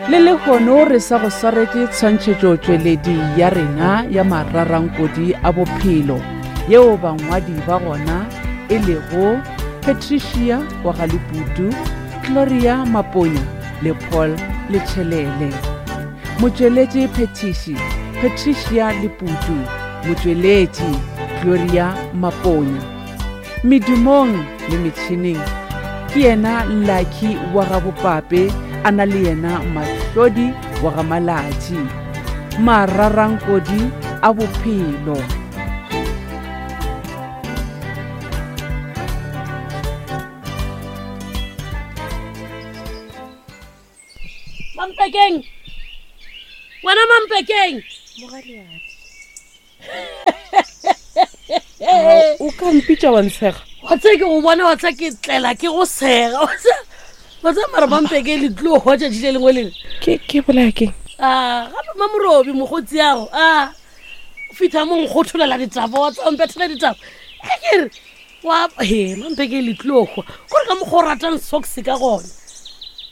Le lehono re sa go swaretše tshwantšhetšotšweledi ya rena ya mararankodi a bophelo yeo bangwadi ba gona e lego Patricia wa ga Leputu, Gloria Maponya le Paul Letšhelele. Motšweletši phethiši Patricia Leputu, motšweletši Gloria Maponya. Medumong le metšhineng ke yena Lucky wa ga Bopape a na le yena Mahlodi wa ga Malatši. Mararankodi a bophelo. Mampekeng! Wena Mampekeng! O ka mpitša wa ntshega. Wa tseba ke go bona wa tseba ke tlela ke go sega. Wa tseba wa tseba mara Mampekeng le tlilo hwa tšatši le lengwe le le. Ke ke bolaya keng? Ah, gape Mamorobi mokgotsi yago. Ah. Fitha mo nkgotholela ditaba wa tseba mpethela ditaba. Ge ke re wa he mampeke le tlilo hwa kore ka mokgwa o ratang socks ka gona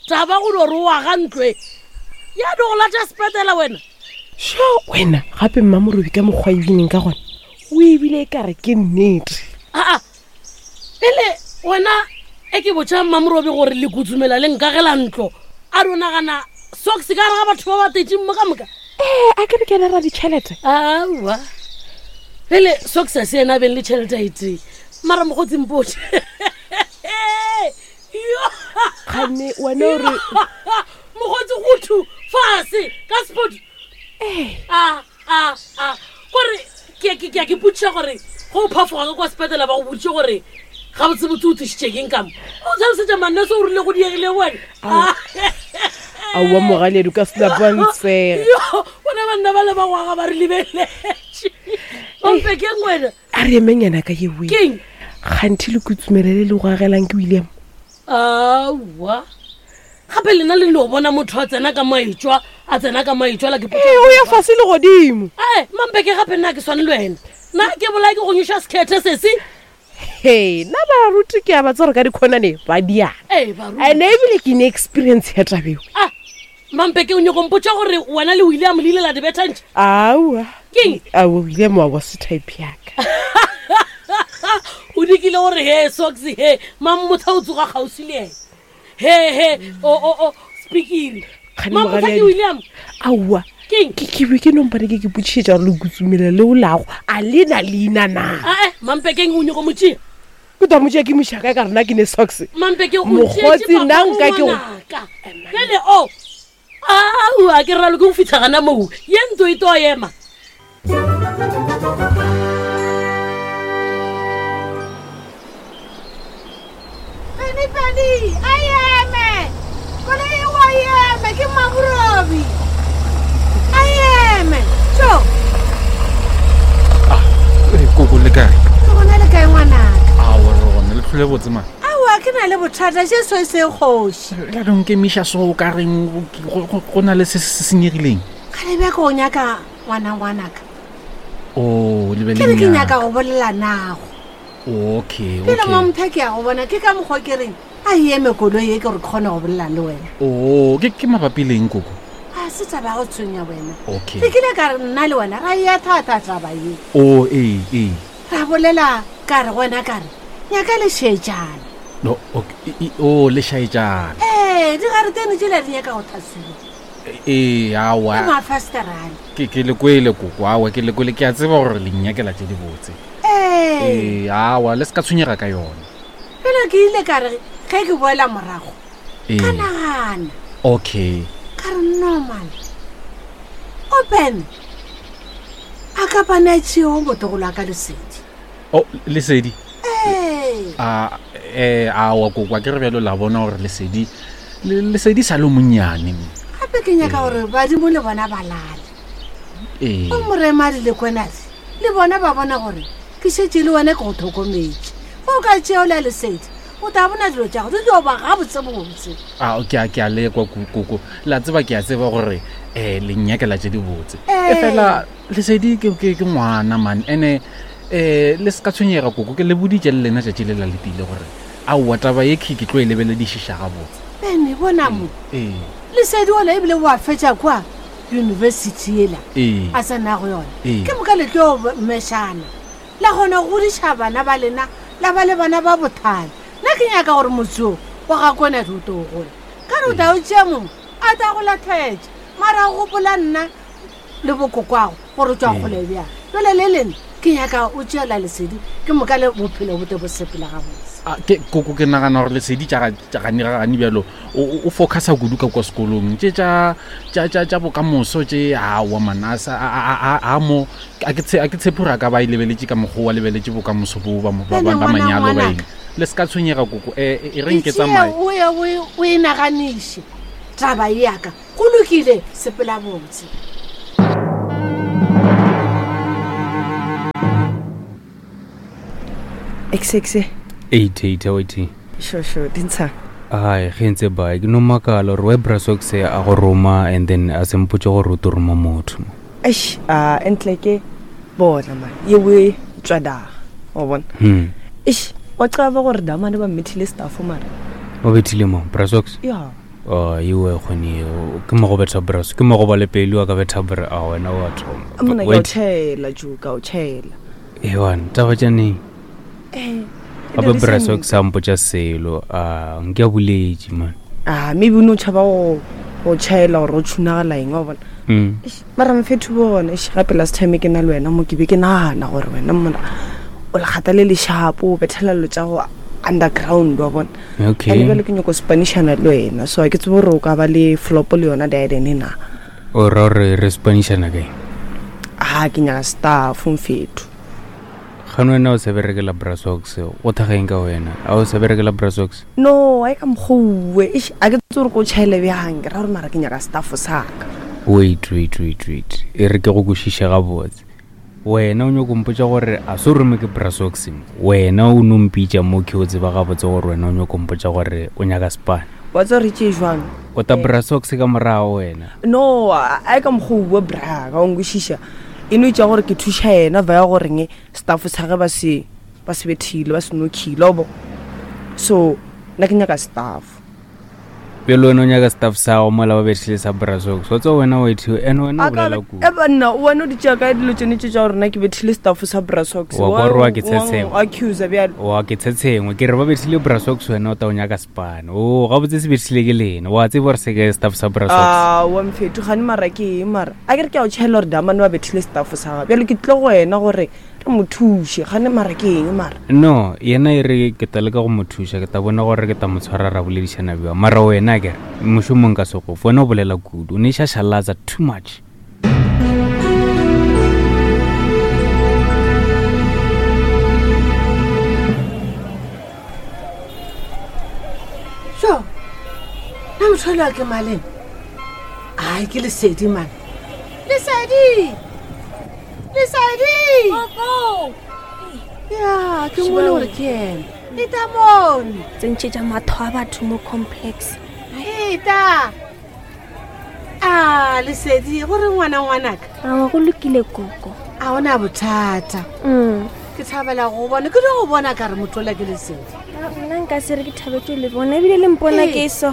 taba go no re o aga ntlo e ya do go lata sepetela wena sho wena gape mmamorobi ka mokgwa e bineng ka gona o ebile e kare ke nnete aa pele wena e ke botša mmamorobi gore le kutsumela le nkagela ntlo a do nagana socks ka gare ga batho ba ba tetseng mo ka moka ee a ke re ke ena ra ditšhelete aowa pele socks a se ena a beng le tšhelete a e tee mara mokgotsi mpotše kganne wena o re mokgotsi gothu fase ka spot a a a kore ke ke ke ke potšiša gore go o phafoga ka kwa sepetela ba go boditše gore gabotsebotse o tlišitše keng kamo o tlhalosetša manne se o rile go diegile wena aowa mogaledi ka senapantsega bona banna ba le ba gwaga ba re lebeletše ompe keng wena a re emeng yana ka yewe keng kganthi le kutsumelele le go agelang ke william aowa gape lena le no bona motho a tsena ka maetswa a tsena ka maetswa la ke ee o ya fase le godimo ee mampeke gape nna ke swane le wena nna ke bolae ke go nyoša sekhethe sese he nna baruti ke a ba tsore ka dikhonane ba diana ee baruti ene ebile ke ne experience ya tabeo ah mampeke o nyako mpotša gore wena le william le ile la dibethantšha aowa Keng? aowa william wa wa se type yaka o dikile gore he socks he mammotha o tsoga kgauswi le ena he he o o o speakiri Kgane mammotha ke mogaledi. william aowa Keng? ke ke be ke nompane ke ke botšišetša gore le kutsumela leo lago a le na leina na ae mampekeng o nyako motšea ke twa motšea ke mošaka ka rena ke ne socks mampeke o Mokgotsi, tšeetše nna papa nka ke go- ngwanaka. Bjale o Aowa, ke ralo ke go fitlha gana moo ye ntlo e to ema. Penny Penny, a eme! Koloi e wa eme, ke Maburobi. A eme. Tšo, Eh, koko le kae ke gona le kae ngwanaka? awa re gona le tlhole botse ma Aowa, ke na le bothata, Jesu e se kgoši. La no nkemiša so o ka reng go na le se se senyegileng. Kgale bja ko nyaka ngwana ngwanaka. O le be le ke nyaka go bolela nago. Okay, okay. Pele mo motho ke ya go bona ke ka mokgwa ke reng a eme koloi e ke gore ke kgone go bolela le wena. O ke ke mabapi leng koko? A se taba ya go tshwenya wena. Okay. Ke kile ka re nna le wena ra ya thata taba ye. O ee ee. Ra bolela ka re go wena ka re nyaka le šetšana. No, okay. I, o le šaetšana. Ee, digaretene tšela di nyaka go tlhaswiwa. Ee, aowa. Ke mafesterane. Ke ke le kwele koko, aowa ke le kwele ke a tseba gore le nnyakela tše dibotse. Ee. Ee, aowa le se ka tshwenyega ka yona. Pele ke ile ka re ge ke boela morago. Ee. Ka nagana. Okay. Ka re no man. Open. A ka bana tšeo motogolo a ka lesedi. O lesedi. Ee. A eh aowa koko a ke re bjalo la bona gore lesedi lesedi sa le monnyane. Gape ke nyaka gore badimo le bona ba lale. Ee. O moremadi le kwenadi le bona ba bona gore ke šetše le wena ke go tlhokometše. Ge o ka tšeo la lesedi o tla bona dilo tša go di tlo ba gabotsebotse. A ke a ke a lekwa koko la tseba ke a tseba gore um le nnyakela tše dibotse. Ee. E fela lesedi ke ke ke ngwana man ene um le se ka tshwenyega koko ke le boditše le lena tšatši le la letile gore aowa taba ye ke ke tlo e lebeledišiša gabotse. Bene bona mo. Ee. Lesedi ola ebile wa fetša kwa yunibesithi yela Ee. a tsena go yona. Ee. Ke moka le tlo mešana la kgona go godiša bana ba lena la ba le bana ba bothale. Nna ke nyaka gore motse wo wa ga Konadi o tlo gola. Ka re o tla o tšea mongwe a tla go lathetša mara o gopola nna le bokokwago gore o tšwa kgole bjang. Jale le lena ke nyaka o tšeela lesedi ke moka le bophelo bo tle bo sepela gabotse. A, ke koko ke nagana gore lesedi tša ga- tša gane ga gane bjalo o o- o focusa kudu ka kwa sekolong tše tša tša tša tša bokamoso tše aowa man a sa- a- a- a- a mo a ke tshe- a ke tshepe gore a ka ba e lebeletše ka mokgwa o a lebeletše bokamoso bo ba mo- ba Bjale ba- ba ngwana manyalo ba ngwanaka. eng le se ka tshwenyega koko e e re nke Itšee tsamaye o ye o e- o e naganiše taba ye yaka go lokile sepela botse. Exe Eight, eight, eight. Sure, sure, dintsha. Ai, ge ntse bae ke no makala gore why Brasox a go roma and then a se mpotse gore o tlo roma motho. Eish, a entle ke bona man. Yewe tswa da. O bona. Eish, wa qaba gore damane ba mmethile staff mara. O bethile mo Brasox? Ya. Oh, iwe kgone ke mo go betha Bras, ke mo go ba le pele wa ka betha Bra, a wena wa thoma. Mona ke o Wait. tšhela ju ka o tšhela. Ewan, taba tša neng? Eh. Gape Brasox a mpotša selo, a nke a boletše man. Ah, maybe o no tšhaba go go tšhaela gore o tšhunagala eng wa bona. Eish, mara mfethu bona eish, gape last time ke na le wena mo ke be ke nagana gore wena mona o lekgata le lešapo o bethela dilo tša go underground wa bona. Okay. And bjale ke nyako spanishana le wena so a ke tsebe gore o ka ba le flop le yona diadene na. O ra gore re spanishana kae? Ah, ke nyaka staff mfethu. Gane wena o sa berekela Brasox, go thageng ka wena? A o sa berekela Brasox? No, a e ka mokgouwe. Eish, a ke tsebe gore ko tšhaele bjang, ke ra gore mara ke nyaka staff sa ka. Wait, wait, wait, wait. E re ke go kwešiše gabotse. Wena o nyako mpotša gore a se o rome ke Brasox mo. Wena o no mpitša mo ke o tseba gabotse gore wena o nyako mpotša gore o nyaka spane. Wa tseba re tšee jwang? O ta Brasox ka morago wena. No, a e ka mokgouwe bra, ka o nkwešiša. E no itša gore ke thuša yena via goreng staff sa ge ba se ba se bethile, ba se nokhile, o bo. So, nna ke nyaka staff. Bjale wena o nyaka staff sa gago mola ba bethile sa Brasox. Wa tseba wena o ethiwe, and wena o A ka bolela be- kudu. E banna, wena o di tšea kae dilo tšone tše tša gore nna ke bethile staff sa Brasox? Wa kwa gore wa ke tshetshengwe. Wa accusa bjale. Wa ke tshetshengwe, ke re ba bethile Brasox wena o ta o nyaka spane. O gabotse se bethile ke lena. Wa tseba gore se ke staff sa Brasox. Ah, wa mfethu gane mara ke eng mara? A ke re ke a o tšhaela gore damane ba bethile staff sa gago. Bjale ke tlile go wena gore re mo thuše, gane mara ke eng mara? No, yena e re ke tla leka go mo thuša, ke tla bona gore ke tla mo tshwara ra boledišana bjang. Mara wena ke re, mošomong ka se go fe, wena o bolela kudu, o ne šašalatsa too much. So, nna motho ole wa ke maleng? Ai, ke Lesedi man. Lesedi! Lesedi! Koko! Ya, ke ngwele gore ke ena. Eta mono. Tsentšhetša matho a batho mo complex. Eta! A, Lesedi, gore ngwana ngwanaka? Aowa, go lokile koko. A ona bothata. Ke thabela go bona, ke dio go bona ka re motho ola ke Lesedi. Ah, nna nka se re ke thabetse le bona ebile le mpona Ee. ke so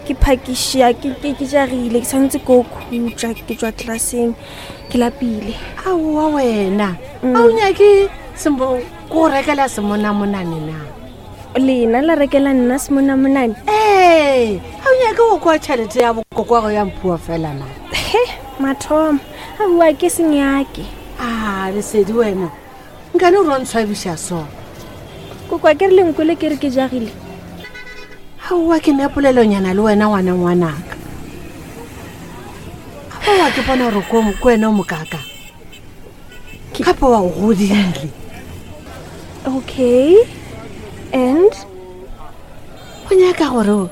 ke phakišia ke ke ke jagile ke tshwanetse ko khutša ke tswa classeng ke lapile. Aowa wena, a o nyake sembo ko go rekela semonamonane na? Lena la rekela nna semonamonane? Ee, a o nyake go kwa tšhelete ya bokokwago ya mphua fela na? He, mathomo aowa ke senyake. A Lesedi wena, nkane o rontshwabiša so? Kokwa ke re lenkwele ke re ke jagile. Aowa ke ne polelonyana le wena ngwana ngwanaka. Aowa ke bona gore ko wena o mokaka. Gape wa o godile. Okay. And? O nyaka gore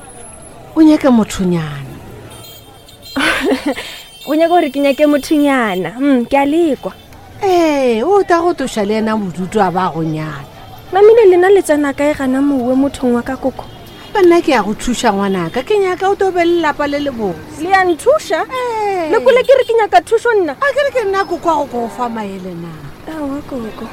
o nyake mothonyana. O nyaka gore ke nyake mothonyana. Ke a lekwa. Ee, o ta go toša le yena bodutu a ba go nyala. Mamile lena le tsena kae gana mowe mothong wa ka koko? Gape nna ke ya go thuša ngwanaka, ke nyaka o to be le lapa le le botse. Le ya nthuša? Ee. Le kole ke re ke nyaka thušo nna? A ke re ke nna koko wa go ko fa maele na? Aowa koko.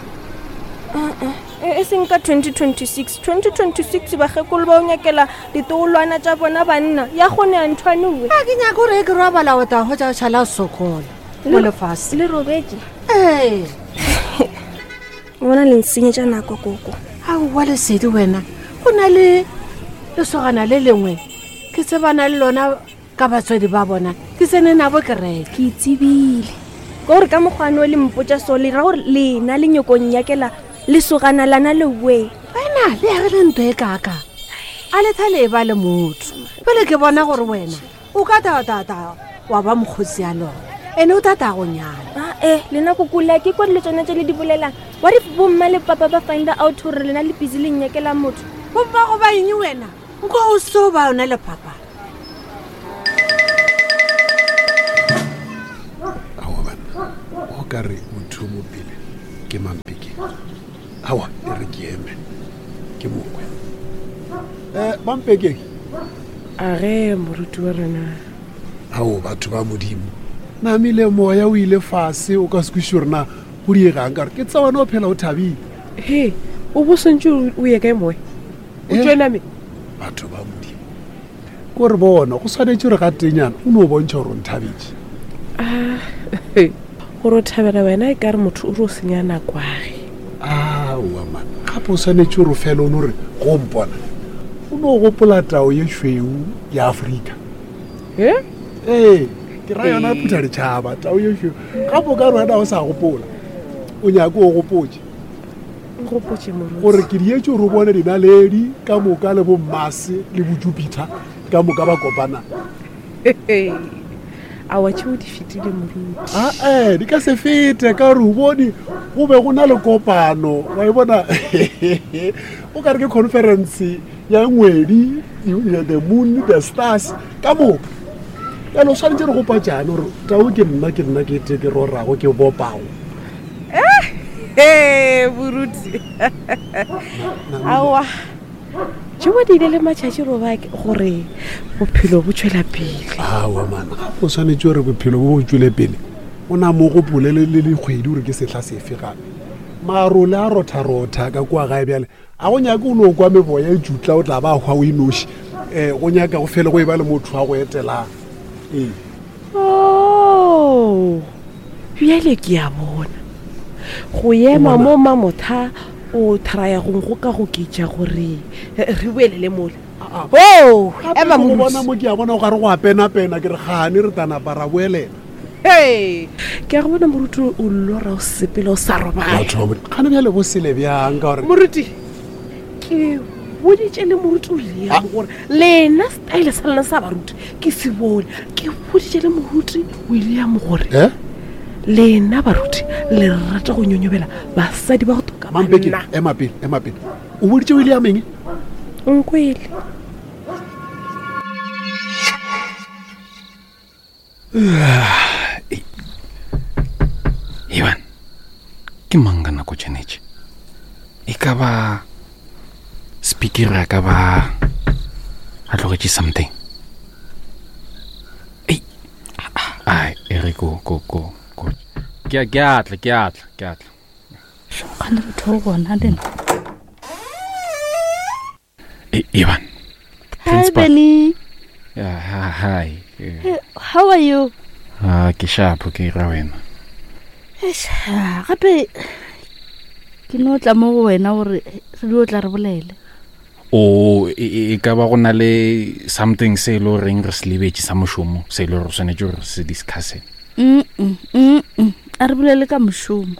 Uh-uh. E, e seng ka 2026. 2026 bakgekolo ba o nyakela ditogolwana tša bona banna. Ya kgonega nthwane we. A ke nyake gore e ke robala o tla hwetša o šala o sokola mo lefase. Le robetše? Ee. O bona le nsenyetša nako koko. Aowa Lesedi wena, go na le lesogana le lengwe ke tsebana le lona ka batswadi ba bona ke tsene nabo kereke. Ke tsebile ka gore ka mokgwane o le mpotša so le ra gore lena le nyokong nyakela lesogana lana le we. Wena le yagile ntho e kaka a le thale e ba le motho pele ke bona gore wena o ka tatata wa ba mokgotsi ya lona ene o tata go nyala. Ae lena kokola ke kwa dilo tsone tse le di bolelang. What if bomma le papa ba find out gore lena le busy le nyakela motho? Bomma go ba eng wena? Nko o so ba yona le papa. Aowa banna, o ka re motho yo mo pele ke Mampeke. Aowa, e re ke eme ke mokwe. Um Mampeke. A ge moruti wa rena. Ao batho ba Modimo, namile moya o ile fase o ka se kwešiše gore na go diegang ka gore ke tsa wena o phela o thabile. He, o bo swantše o ye kae moya? O tšwe name? Batho ba Modimo, ko re bona go swanetše gore ga tenyana o no bontšha gore o nthabetše. Ah, gore o thabela wena e ka re motho o re o senya nakwage. Aowa man, gape o swanetše gore o fele o no re go mpona o no gopola tao ye tšhweu ya Afrika. Eh? Ee, ke ra yona phutha ditšhaba tao ye tšhweu. Gape o ka re wena o sa gopola, o nyake o gopotše. Nkgopotše moruti. Gore ke dietše gore o bone dinaledi ka moka le bo Mars le bo Jupiter ka moka ba kopana. Aowa tšeo di fetile moruti. Ae, di ka se fete ka gore o bone go be go na le kopano wa e bona o ka re ke conference ya ngwedi the moon the stars ka moka. Bjale o swanetše re gopatšane gore tau ke nna ke nna ke te ke rorago ke bopago. Ee, boruti aowa tšeo di ile le matšatši roba gore bophelo bo tšwela pele. Aowa mana gape o swanetše gore bophelo bo bo tšwele pele o na mo gopole le dikgwedi gore ke sehla sefe gape. Marole a rotha-rotha ka kua gae bjale a go nyake o no kwa meboya e tšutla o tla ba hwa o e noši. Um go nyaka go fele go e ba le motho wa go etelang. Ee. Oh, bjale ke a bona. Go ema mo mamotha o thraya go go ka go ketša gore re boelele mola. Oh, ema mo bona mo ke a bona o gare go a pena pena ke re gane re tana para boelela. Hey, ke a go bona moruti o lora o sepela o sa robala. Batho ba gane bjale bo sele bjang ka gore Moruti ke boditše le moruti o Liam gore lena style sa lena sa baruti ke se bone. Ke boditše le moruti William gore Eh? lena baruti le rata go nyonyobela basadi ba go toka Mampeke, banna. ema pele, ema pele. O boditše William eng? Nkwele. Ivan, ke mang ka nako tšenetše? E ka ba speaker a ka ba a tlogetše something. Ei, ai, e re ko ko ko ko. Ke a ke a tla, ke a tla, ke a tla. Kgane batho ba bona le nna. E, Ivan. Hi, Principal. Benny. Yeah, hi. hi. Eh, Hey, how are you? Ah, ke sharp ke ra wena. Eish, ah, gape ke no tla mo go wena gore re dio tla re bolele. O e, e, e ka ba go na le something se e le goreng re se lebetše sa mošomo se e le gore re swanetše gore re se discusse. Mm mm. A re bolele ka mošomo.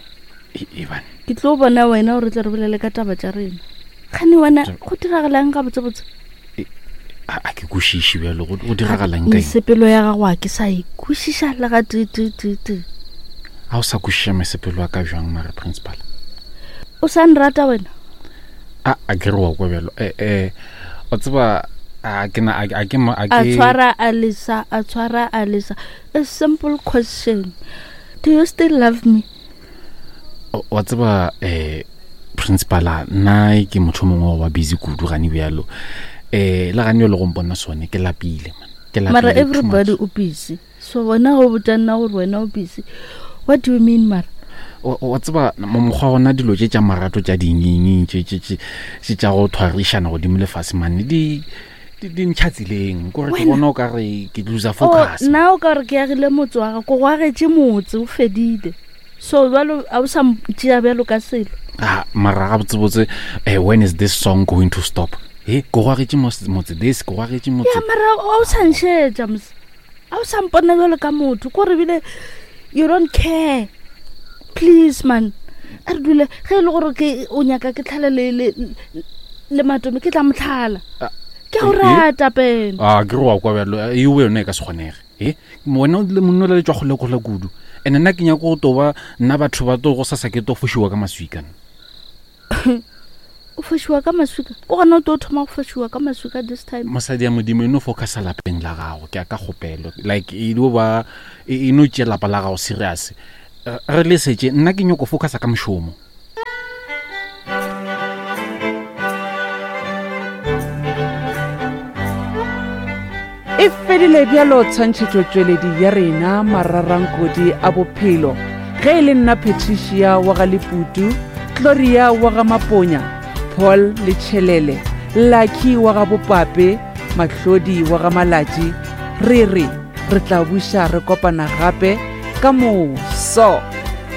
E, Ivan. Ke tlo bona wena gore tle re bolele ka taba tša rena. Kgane wena go diragalang gabotsebotse? A ke kwešiše bjalo go diragalang ka eng? Mesepelo ya gago a ke sa e kwešiša le ga tee tee tee tee. A o sa kwešiša mesepelo ya ka bjang mara principal? O sa nrata wena? A a ke re wa kwa bjalo. Eh eh o tseba a ke na a ke a ke A tshwara a lesa, a tshwara a lesa. A simple question. Do you still love me? Wa tseba eh principala nna ke motho mongwe wa busy kudu gane bjalo. Eh le gane le go mpona sone ke lapile man. Ke lapile. Mara everybody o busy. So wena go botša nna gore wena o busy. What do you mean mara? Wa tseba mokgwa gona dilo tše tša marato tša dingingi tše tše tše tše tša go thwarišana godimo lefase mane di di ntšha tseleng kore ke bona o ka re ke loser focus. Nna o ka re ke agile motse wa ga ko go agetše motse o fedile. So jalo a o sa tšea bjalo ka selo. Ah, mara ga botsebotse eh, when is this song going to stop? He, ko go agetše motse this, ko go agetše motse. Ya mara a o sa nšetša mos. A o sa mpona bjalo ka motho ko re bile you don't care. Please man. A re dule ge e le gore ke o nyaka ke tlhale le le le matome ke tla motlhala. Ke go rata pene. A ke re wa kwa bjalo e o yone e ka se kgonege. E wena le monna le tswa kgole kgole kudu. Ene nna ke nyaka go toba nna batho ba to go sasa ke to fošiwa ka maswika. O fošiwa ka maswika o gona o tlo thoma go fošiwa ka maswika this time. Mosadi ya modimo e no focusa lapeng la gago ke a ka kgopelo like e no ba e no tšea lapa la gago serious re lesetše nna ke nyoko focusa ka mošomo. E fedile bjalo tshwantšhetšotšweledi ya rena mararankodi a bophelo. Ge e le nna Patricia wa ga Leputu, Gloria wa ga Maponya, Paul le Tšhelele, Lucky wa ga Bopape, Mahlodi wa ga Malatši, re re re tla buša re kopana gape ka moso.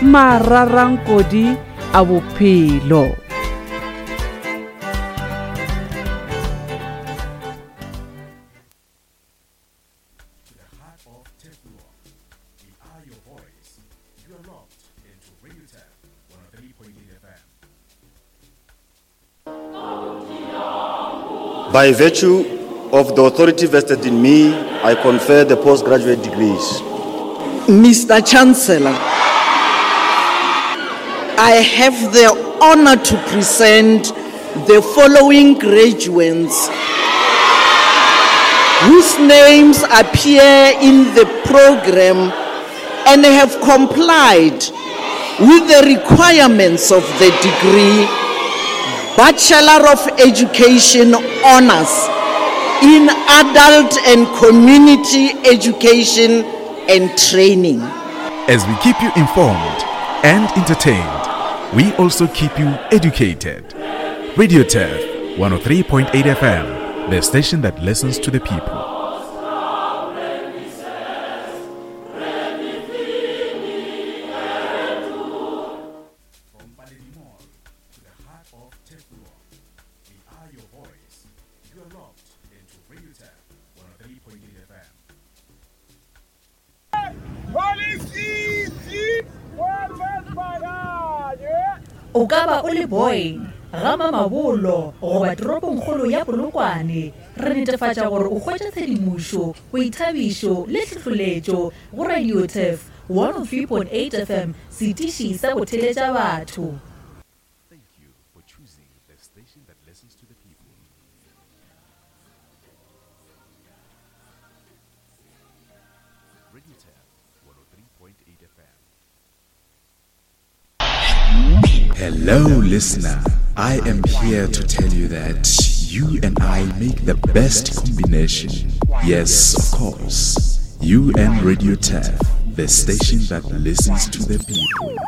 Mararankodi a bophelo. By virtue of the authority vested in me, I confer the postgraduate degrees. Mr. Chancellor, I have the honor to present the following graduates whose names appear in the program and have complied with the requirements of the degree Bachelor of Education Honors in Adult and Community Education and Training. As we keep you informed and entertained, we also keep you educated. Radio Turf 103.8 FM, the station that listens to the people. O ka ba o le Boyne, ga Mamabolo goba toropongkgolo ya Polokwane, re netefatša gore o hwetša tshedimošo, boithabišo le tlhohloletšo go Radio Turf 103.8 FM, setiši sa go theletša batho. Hello, listener. I am here to tell you that you and I make the best combination. Yes, of course. You and Radio Turf, the station that listens to the people.